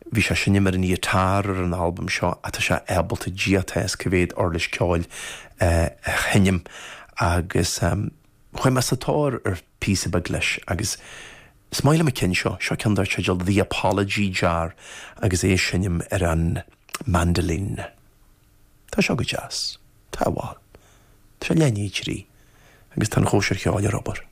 Bhí sé ag seinm ar an ngiotár ar an albam seo ach tá sé ábalta Dia atá 'fhios cá mhéad uirlis ceoil a sheinm agus chuaigh mé sa tóir ar phíosa beag leis agus is maith liom an ceann seo, seo ceann dar teideal The Apology Jar agus é ag seinm ar an mandolin. Tá seo go deas. Tá bhuel. Tá sé leath i ndiaidh a 3 agus tá an chóisir cheoil ar obair.